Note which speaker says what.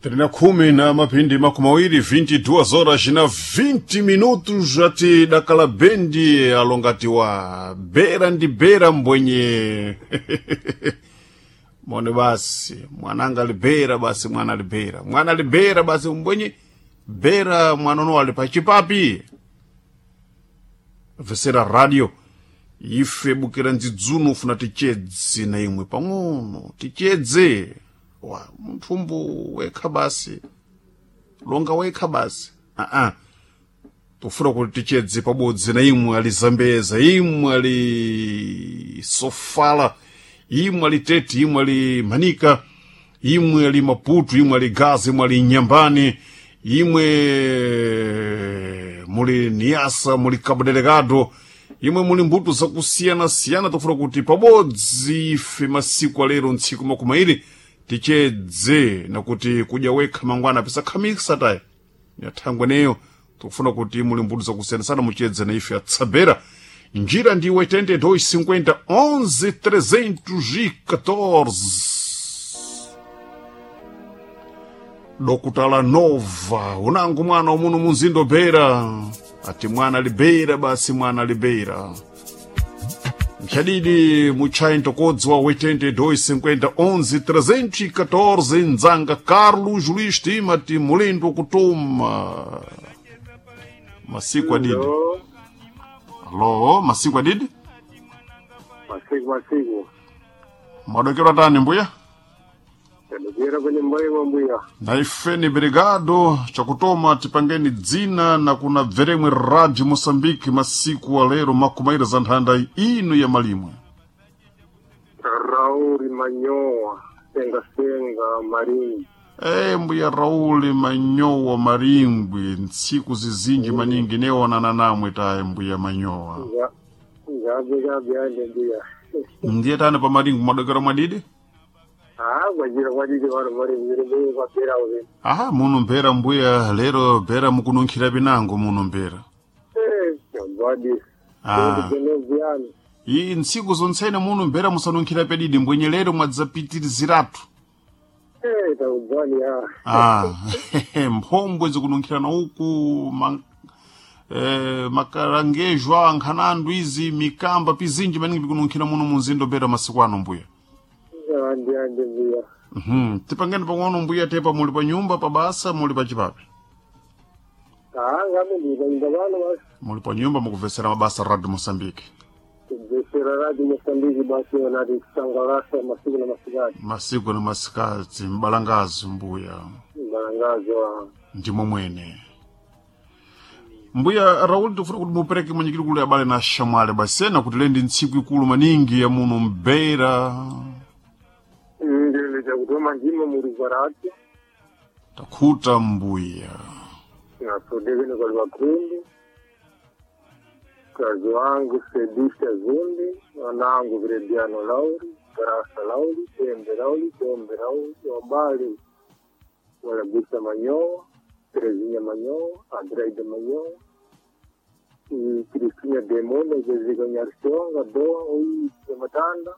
Speaker 1: Trina khumi na mapindi makumi mawiri 22 horas na 20 minutos ati dakala bendi alongatiwa bera ndi bera mbwenye mone basi mwananga libera basi mwana libera mwana libera basi mbwenye bera mwanono ali pachipapi vesera radio ife bukira ndzidzuno ufuna tichedze na imwe pang'ono tichedze wa mthumbu wekha basi longa wekha basi aa tofuna kuti tichedze pabodzi na imwe ali zambeza imwe ali sofala imwe ali tete imwe ali manika imwe ali maputu imwe ali gaza imwe ali nyambani imwe muli niasa muli cabo delegado imwe muli mbuto zakusiyana-siyana tofuna kuti pabodzi ife masiku alero ntsiku makumi airi tichedze nakuti kudya wekha mangwana pisakhamisa tayi nyathangwe neyo tikufuna kuti muli mbuto zakusiyana-siyana muchedze na ife atsabera njira ndi 82 50 11 314 dokutala nova unangu mwana umuno munzindo bera ati mwana libera basi mwana libera mchadidi muchai ntokodzwa 82 50 11 314 nzanga carlos luís timati mulindo kutuma masiku adidi
Speaker 2: Alo,
Speaker 1: alo masiku adidi
Speaker 2: masiku masiku
Speaker 1: mwadokera tani mbuya
Speaker 2: tadokera kwenye mbaima mbuya
Speaker 1: naifeni brigado chakutoma tipangeni dzina na kuna bveremwe radio moçambique masiku alero makumaira za nthanda ino ya malimwe
Speaker 2: Rauli Manyowa senga senga Maringi
Speaker 1: e mbuya rauli manyowa maringwi ntsiku zizinji maningi neonana namwe taye mbuya manyowa
Speaker 2: ngabe ngabe ande mbuya
Speaker 1: ndiye tani pa maringwi mwadokera mwadidi
Speaker 2: ah kwajira kwadidi wano maringi mbuya kwapera uve
Speaker 1: aha muno mbera mbuya lero bera mukununkhira pinango muno mbera
Speaker 2: eh mbadi
Speaker 1: ah.
Speaker 2: kunovyana
Speaker 1: iyi ntsiku zontsene muno mbera musanunkhira pedidi mbwenye lero mwadzapitiriziratu
Speaker 2: eh takubvani ya
Speaker 1: Ah, mphombwe zikununkhirana uku makarangejwa nkhanandu izi mikamba pizinji maningi pikununkhira muno munzindo bera masiku ano mbuya
Speaker 2: ande ande mbuya
Speaker 1: Tipangeni pang'ono mbuya tepa muli pa nyumba pa basa muli pa chipapi
Speaker 2: ah ngabe ndi pano basi
Speaker 1: muli pa nyumba mukuvesera mabasa radio moçambique
Speaker 2: kubvesera radio Mozambique basi onati kusangalasa masiku na masikati
Speaker 1: masiku na masikati mbalangazi mbuya
Speaker 2: malangazo ah
Speaker 1: ndimo mwene mbuya raul tifuna kuti mupereke mwenyekiti kulu abale na shamwale basena kuti lendi ntsiku ikulu maningi ya muno mbeira
Speaker 2: ndile chakutoma ndimo muri kwarati
Speaker 1: takhuta mbuya
Speaker 2: nasodekene kwali vakhumbi mkazi wangu Sedisha Zumbi, wanangu Vrediano Lauri, Barasa Lauri, Tembe Lauri, Tombe Lauri, Wabali Walagusa Manyowa, Terezinha Manyowa, Adreida Manyowa, e Cristina Demona, Jezika Nyarshonga, Doa, Oi, Matanda,